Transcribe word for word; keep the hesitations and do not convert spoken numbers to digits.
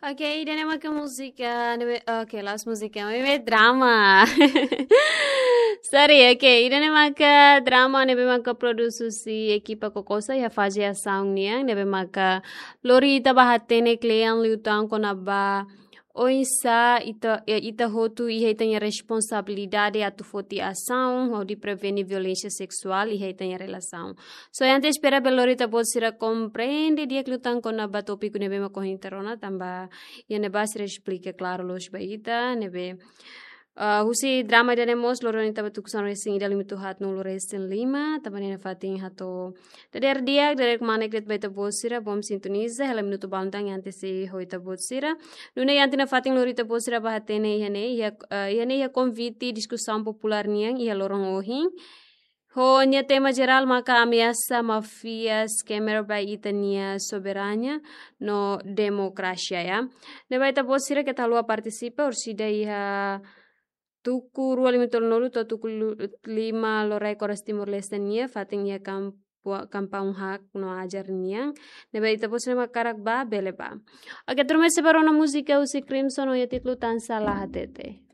Oke, ida-ne'e maka múzika, ne'ebé, oke, la'ós múzika, maibé drama. Sorry, oke, ida-ne'e maka drama ne'ebé maka produs husi ekipa Kokosa iha faze asaun nian, ne'ebé maka lori ita ba hatene kle'an liután kona-ba oinsá ita, eh, ita hotu iha ita-nia responsabilidade atu foti asaun hodi prevene violénsia seksuál iha ita-nia relasaun. So, entaun espera bele lori ita-boot sira komprende di'ak liután kona-ba tópiku ne'ebé mak ohin ita rona, tanba iha ne'ebá sira esplika klaru loos ba ita, ne'ebé, ah, husi drama ida-ne'e mós lori ona ita ba tuku sanulu-resin-ida, limitu haatnulu-resin-lima, tanba ne'e nafatin hato'o dadeer di'ak, dadeer kmanek de'it ba ita-boot sira, bom sintoniza, hela minutu balun tan entaun sei ho ita-boot sira. Nune'e entaun nafatin lori ita-boot sira ba hatene iha ne'e, iha, eh, iha ne'e iha konvite diskusaun populár nian iha loron ohin. Ho nia tema jerál maka ameasa máfia scammer ba ita-nia soberania no demokrasia, ya. Ne'ebé ita-boot sira keta haluha partisipa, orsida iha tuku rua lima tolunulu to'o tuku lu-, lima loraik oras Timor-Leste nian, fatin iha kampu-, kampung hak no ajar nian. Ne'ebé ita-boot sira mak hakarak ba, bele ba. Oke, tuirmai sei ba rona múzika husi Crimson ho nia títulu Tansá La Hatete.